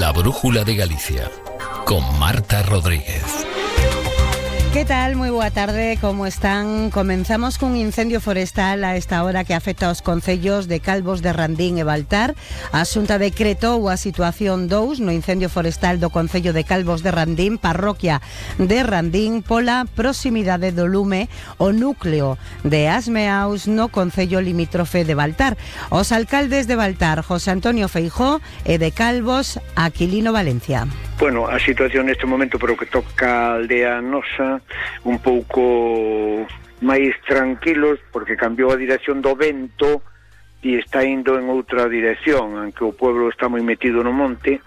La Brújula de Galicia, con Marta Rodríguez. ¿Qué tal? Moi boa tarde, como están? Comenzamos cun incendio forestal a esta hora que afecta aos concellos de Calvos de Randín e Baltar. A Xunta decretou a situación 2 no incendio forestal do concello de Calvos de Randín, parroquia de Randín, pola proximidade do lume o núcleo de Asmeaus no concello limítrofe de Baltar. Os alcaldes de Baltar, José Antonio Feijóo, e de Calvos, Aquilino Valencia. Bueno, a situación neste momento, pero que toca a aldea nosa, un pouco máis tranquilos, porque cambiou a dirección do vento e está indo en outra dirección, aunque o pueblo está moi metido no monte.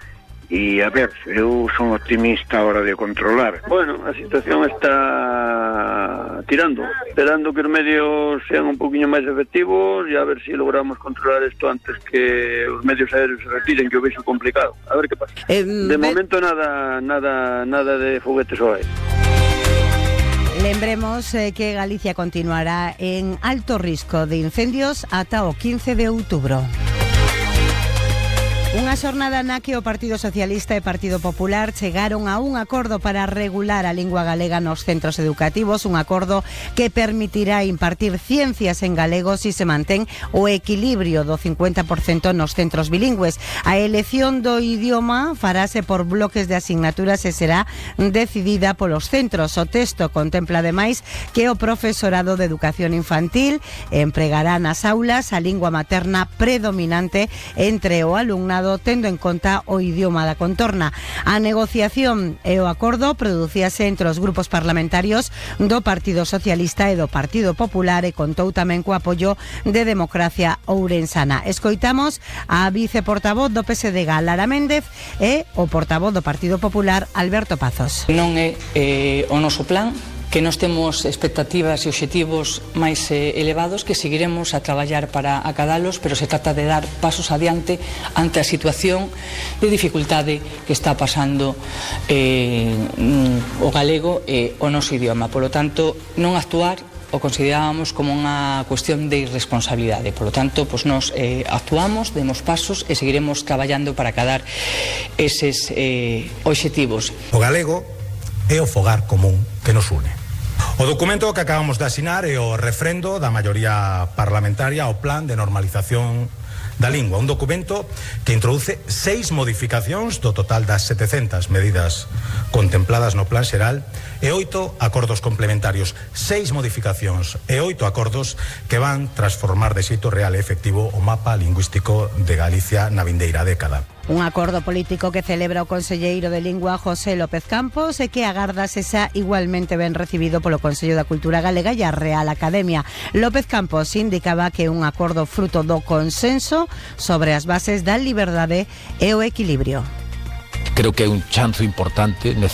E, a ver, eu son optimista a hora de controlar. Bueno, a situación está tirando, esperando que os medios sean un poquinho máis efectivos e a ver se logramos controlar isto antes que os medios aéreos se retiren, que o vexo complicado. A ver que pasa. De momento nada de foguetes ao aire. Lembremos que Galicia continuará en alto risco de incendios ata o 15 de outubro. Unha xornada na que o Partido Socialista e Partido Popular chegaron a un acordo para regular a lingua galega nos centros educativos, un acordo que permitirá impartir ciencias en galego si se mantén o equilibrio do 50% nos centros bilingües. A elección do idioma farase por bloques de asignaturas e será decidida polos centros. O texto contempla ademais que o profesorado de educación infantil empregará nas aulas a lingua materna predominante entre o alumnado, tendo en conta o idioma da contorna. A negociación e o acordo producíase entre os grupos parlamentarios do Partido Socialista e do Partido Popular e contou tamén co apoio de Democracia Ourensana. Escoitamos a viceportavoz do PSDG, Lara Méndez, e o portavoz do Partido Popular, Alberto Pazos. Non é o noso plan, que nós temos expectativas e obxectivos máis elevados, que seguiremos a traballar para acadalos, pero se trata de dar pasos adiante ante a situación de dificultade que está pasando o galego e o noso idioma. Por lo tanto, non actuar o considerábamos como unha cuestión de irresponsabilidade. Por lo tanto, pues nos actuamos, demos pasos e seguiremos traballando para acadar eses obxectivos. O galego é o fogar común que nos une. O documento que acabamos de asinar é o refrendo da maioría parlamentaria ao Plan de Normalización da Lingua, un documento que introduce 6 modificacións do total das 700 medidas contempladas no Plan Xeral e 8 acordos complementarios, 6 modificacións e 8 acordos que van transformar de xeito real e efectivo o mapa lingüístico de Galicia na vindeira década. Un acordo político que celebra o conselleiro de Lingua José López Campos e que agarda sexa igualmente ben recibido polo Consello da Cultura Galega e a Real Academia. López Campos indicaba que é un acordo fruto do consenso sobre as bases da liberdade e o equilibrio. Creo que é un chanzo importante, necesario,